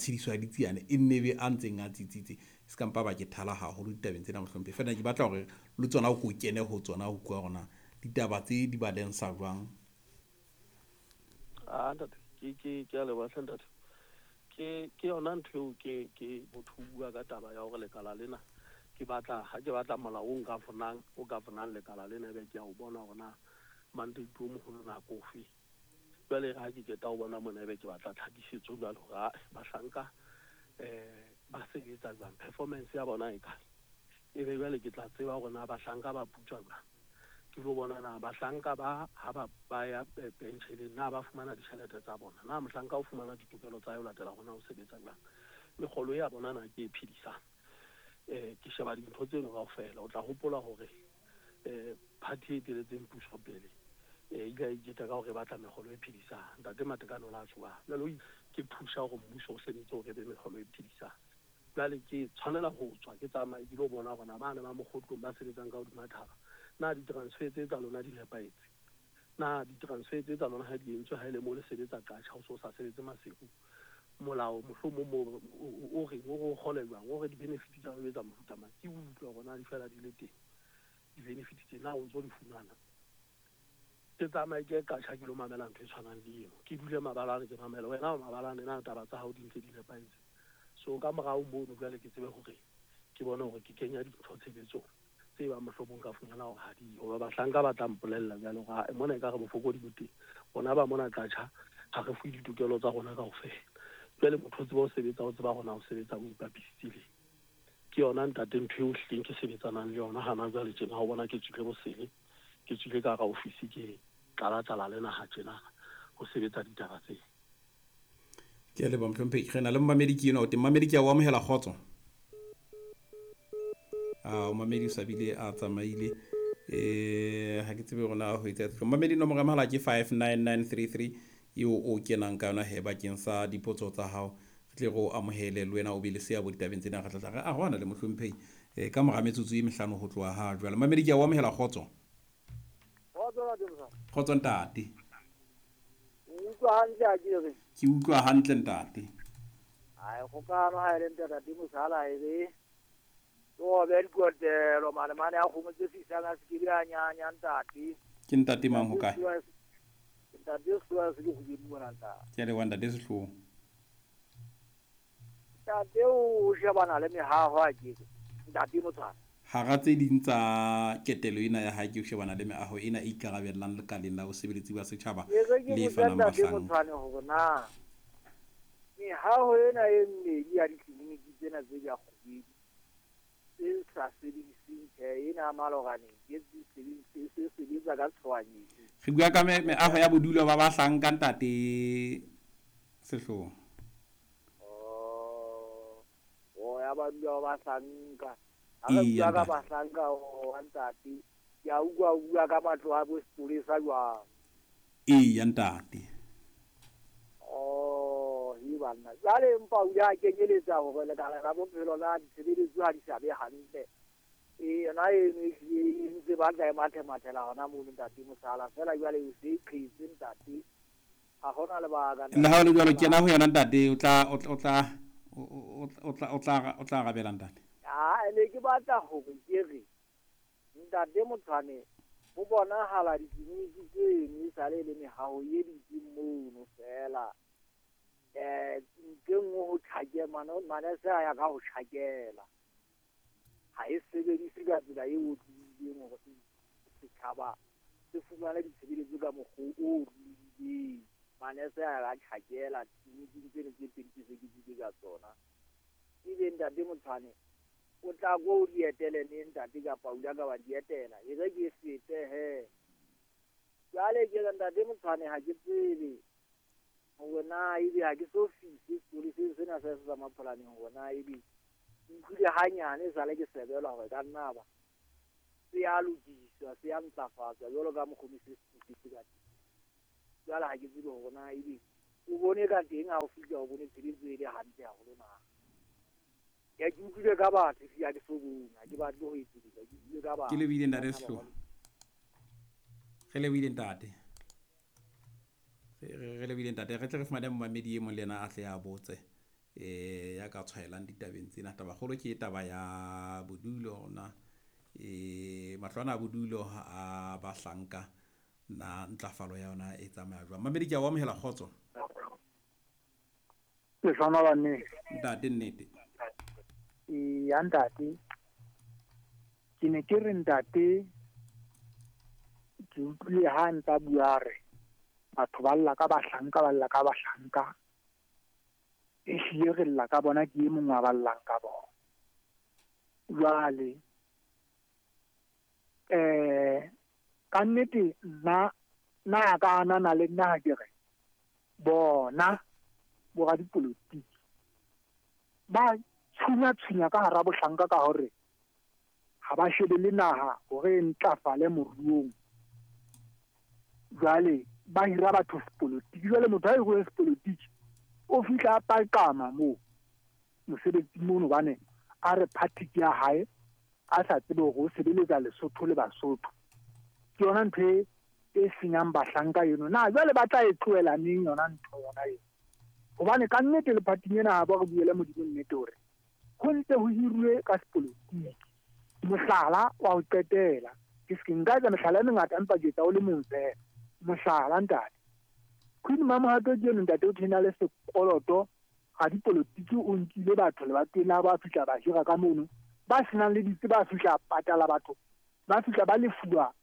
matshediso a ditsiane e nne be a ntseng a tsitsitse. Se ka mpa ba ke thala haholo ditabeng tsena mohlomphehi, feela ke batla hore le tsona o ko kene ho tsona ho utlwa hore na ditaba tse di balensa jwang. Ah, ntate, ke a leboha hle ntate. Ke yona ntho eo ke motho o bua ka taba ya hore lekala lena ke batla ha ke batla molao o nka fonang o ka fonang lekala lena ebe ke a o bona hore na mandate o moholo na ke ofe. Jwale ha ke qeta ho bona mona ebe ke batla tlhakisetso jwale hore ae bahlanka ba sebetsa jwang, performance ya bona e kae. Ebe jwale ke tla tseba hore na bahlanka ba putswa jwang. Ke lo bona na bahlanka ba ha ba ya pensioneng na ba fumana ditjhelete tsa bona, na mohlanka o fumana ditokelo tsa hae ho latela hore na o sebetsa jwang, mekgolo ya bona na ke e phedisang. Ke sheba dintho tseno kaofela. O tla hopola hore party e eteletseng puso pele ile ya iketla ka hore e batla mekgolo e phedisang. Ntate Matekane o la tjho jwale ke phusha hore mmuso o sebetse hore e be mekgolo e phedisang. Jwale ke tshwanela ho tswa ke tsamaye ke lo bona hore na bane ba mokgotlong ba sebetsang ka hodima thaba, na di-transfer tse tsa lona di nepahetse, na di-transfer tse tsa lona ha di entswe ha ele mo le sebetsa Qacha o so sa sebetse Maseru, molao mohlomong mo o reng o re o kgole jwang, o re di-benefit tsa ho etsa mofuta mang. Ke utlwe hore na di fela di le teng di-benefit tse, na o ntso di fumana. Ke tsamaye ke Qacha ke lo mamela ntho e tshwanang le eno, ke dule mabalane ke mamele wena o mabalane na taba tsa hao di ntse di nepahetse. So ka morao mono jwale ke tsebe hore ke bone hore ke kenya dintho tshebetsong tse bang mohlomong ka fumana hore ha di hoba bahlanka ba tla mpolella jwale hore mona ekare bofokodi bo teng, rona ba mona Qacha ha re fuwe ditokelo tsa rona kaofela. Jwale motho o tseba ho sebetsa, o tseba hore na o sebetsa o ipapisitse le. Ke yona ntate ntho eo hlileng ke sebetsanang le yona hana jwale tjena. Ha o bona ke tswile bosele, ke tswile ka hara ofisi, ke tlala-tlala le naha tjena ho sebetsa ditaba tse. Ke a leboha mohlomphehi. Re na le momamedi ke enwa o teng. Momamedi ke a o amohela, kgotso. A momamedi o sa bile a tsamaile. Ha ke tsebe hore na ho etsa. Momamedi nomoro ya mohala ke 59933 eo o kenang ka yona he bakeng sa dipotso tsa hao. Re tle re o amohele le wena o be le seabo ditabeng tsena. Re tla tla re arohana le mohlomphehi ka mora metsotso e mehlano ho tloha ha jwale. Momamedi ke a o amohela, kgotso. Kgotso ntate. Utlwa hantle ha ke re? Ke utlwa hantle ntate. Ai kgokano ha ele ntate Mosala e re o be dikotelo mane mane a kgomo tse fisang a se ke a nyanya ntate. Ke ntate mang ho kae? Ntate Sehloa se ke kgubedi mona ntate. Ke a leboha ntate Sehloa. Ntate o shebana le mehaho a ke ntate Motshwane. Hara tse ding tsa ketelo ena ya hae ke ho shebana le meaho ena e ikarabellang lekaleng la bosebeletsi ba setjhaba le fanang bahlanka. Motshwane hore na mehaho ena e mmedi ya ditleliniki tsena tse di a kgubedi tse sa sebediseng tjhe ena maloraneng ke tse sebetsa ka tshohanyetso. Re bua ka meaho ya bodulo ba bahlanka ntate Sehloa. Oh, ya bodulo ba bahlanka. Ha re bua ka bahlanka o ntate, ke a utlwa o bua ka matlo a bo sepolesa jwang. Eya ntate. Oh, he banna. Jwale empa o ile a kenyeletsa hore lekala la bophelo la ditshebeletso ha di sa be hantle. Yona eno e hlile e ntse batla e mathemathela hona mono ntate Mosala. Feela jwale o se qhetse ntate. Ha hona lebaka. Le ha ho le jwalo kena ho yona ntate, o tla arabela ntate. Ah, ne ke batla hore ke re ntate Motshwane ho bonahala ditleliniki tseno e sale le mehaho e dutseng mono feela. Ntho e nngwe ho tjhakela manese a ya ka ho tjhakela. Ha e sebedise ka tsela e otlolohileng hore setjhaba se fumane ditshebeletso ka mokgwa o otlolohileng. Manese a ya ka tjhakela tleliniking tseno tse pedi tse se ke buile ka tsona. Ebe ntate Motshwane o tla ko o di etele neng ntate kapa o ile ka wa di etela, e re ke fete he. Jwale ke re ntate Motshwane ha ke tsebe hore na ebe ha ke so fihle sepoleseng sena sa sa Mapholaneng hore na ebe ke utlwile hanyane esale ke sebelwa hore ka nna ba se a lokiswa, se a ntlafatswa jwalo ka mokgwa o se se ka teng. Jwale ha ke tsebe hore na ebe o bone ka teng ha o fihla o bone tshebetso e le hantle haholo na. Ya ke utlwile ka batho ha ke so bone, ha ke batle ho etsedisa, ke utlwile ka batho. Ke lebohile ntate Sehloa. Re lebohile ntate. Re lebohile ntate. Re tle re fumane momamedi e mong le yena a tle a botse. Ya ka tshwaelang ditabeng tsena. Tabakgolo ke taba ya bodulo na matlo ana a bodulo a bahlanka na ntlafalo ya yona e tsamaya jwang. Mamedi, ke a o amohela, kgotso. Lehlohonolo nnete. Ntate, nnete. Eya ntate, ke ne ke re ntate, ke utlwile ha ntsa bua re batho ba lla ka bahlanka, ba lla ka bahlanka. Ehlile re lla ka bona, ke e mong wa ba llang ka bona. Jwale ka nnete nna na ka anana le nna ha ke re bona boradipolotiki ba tshunya-tshunya ka hara bohlanka ka hore ha ba shebele naha hore e ntlafale moruong. Jwale ba hira batho sepolotiki. Jwale motho ha hiruwe sepolotiki o fihla a paqama moo mosebetsing mono, hobane a re party ke ya hae, a sa tsebe hore o sebeletsa Lesotho le Basotho. Ke yona ntho e senyang bahlanka eno. Na jwale ba tla e tlohela neng yona ntho yona eo? Hobane ka nnete le party ena ha ba re buele Modimo nnete hore ho ntse ho hiruwe ka sepolotiki. Mohlala wa ho qetela, ke se nka etsa mehlala e mengata empa ke etsa o le mong feela. Mohlala ntate, Queen Mamohato ke eno ntate, o thena le sekoloto ga dipolotiki, o nkile batho lebatoweng la ba fihla ba hira ka mono, ba senang le ditse ba fihla patala batho, ba fihla ba lefuwa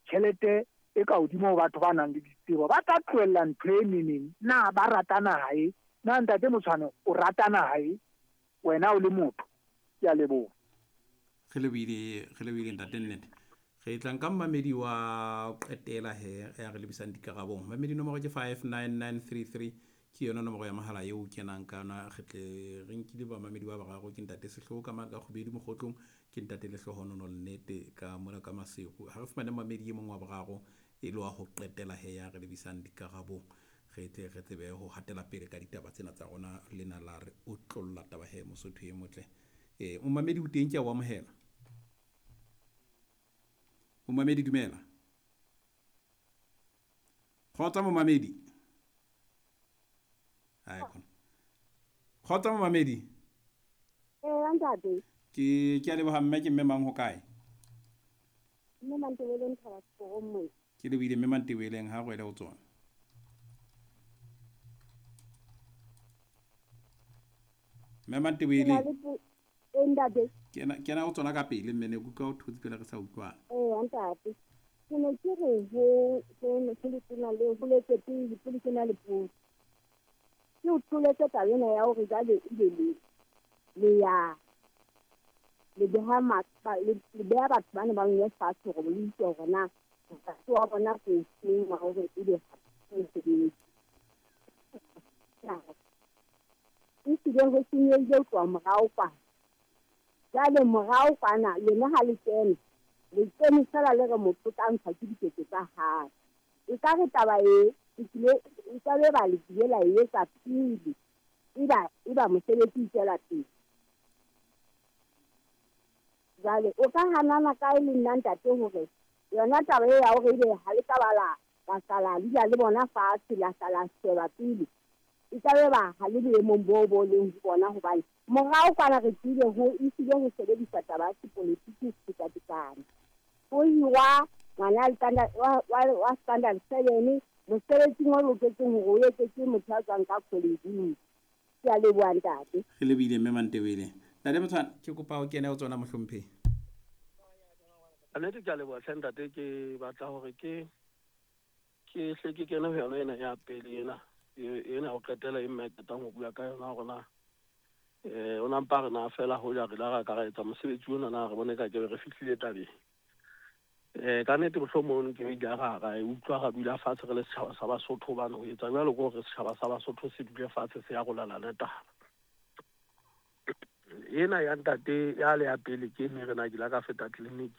tjhelete e ka hodimo ho batho ba nang le ditsebo. Ba tla tlohella ntho e neneng? Na ba rata naha e? Na ntate Motshwane o rata naha e wena o le motho? Ke a leboha. Re lebohile, re lebohile ntate, nnete. Re tla nka mmamedi wa qetela he ya re lebisang dikarabong. Mamedi, nomoro ke 59933, ke yona nomoro ya mohala eo o kenang ka yona. Re tle re nkile bamamedi ba bararo, ke ntate Sehloho ka mane ka Kgubedu Mokgotlong, ke ntate Lehlohonono Nnete ka mona ka Maseru. Ha re fumane mamedi e mong wa boraro e le wa ho qetela he ya re lebisang dikarabong, re tle re tsebe ho hatela pele ka ditaba tsena tsa rona. Lena la re otlolla taba he, Mosotho e motle. Momamedi o teng, ke a o amohela. Momamedi, dumela. Kgotsa momamedi. Ai khona. Kgotsa momamedi. Ee, ntate. Ke a leboha mme, ke mme mang, ho kae? Mme Mantebeleng Thaba Seporong mona. Ke lebohile mme Mantebeleng, ha rwele ho tsona. Mme Mantebeleng. Ee, ntate. Kena ho tsona ka pele mme, ne ke utlwa o thotse pele re sa utlwana. Ee, ntate. Ke ne ke re ho letona le ho letse pele pele ke na le potso. Ke o tholetse taba ena ya hore jwale ebe le ya le beha le beha batho bana ba nngwe fatshe hore le utlwe hore na molato wa bona ke ofeng wa hore ebe mosebetsi. Ehlile ho senyehile ho tloha morao kwana. Jwale morao kwana lona ha le kena, le kene feela le re motho o tla ntshwa ke diketso tsa hae. Ekare taba e e ka be ba le kile la e etsa pele eba mosebetsi o tswela pele. Jwale o ka hanana kae le nna ntate hore yona taba e ya hore ebe ha le ka ba la sala dula le bona fatshe, la sala sheba pele, e ka be ba ha le boemong boo bo leng ho bona, hobane morao kwana re tsile ho ehlile ho sebedisa taba ya sepolotiki ho feta tekano. Ho hirwa ngwana wa standard 7 mosebetsing o loketseng hore o etsetse motho a tswang ka college. Ke a leboha ntate. Re lebohile mme Mantebele. Ntate Motshwane, ke kopa o kene ho tsona mohlomphehi. Nnete ke a leboha hle ntate, ke batla hore ke hle ke kene ho yona ena ya pele ena ena ho qetela e mme qetang ho bua ka yona hore na o na mpa re na fela hoja re la ra ka ra etsa mosebetsi ona na re bone ka ke re fihlile tabeng. Ka nnete mohlomong ke ile ra e utlwa ra dula fatshe re le setjhaba sa Basotho, hobane ho etsa jwalo ke hore setjhaba sa Basotho se dule fatshe se arolelane taba. Ena ya ntate ya le ya pele ke ne re na ke la ka feta clinic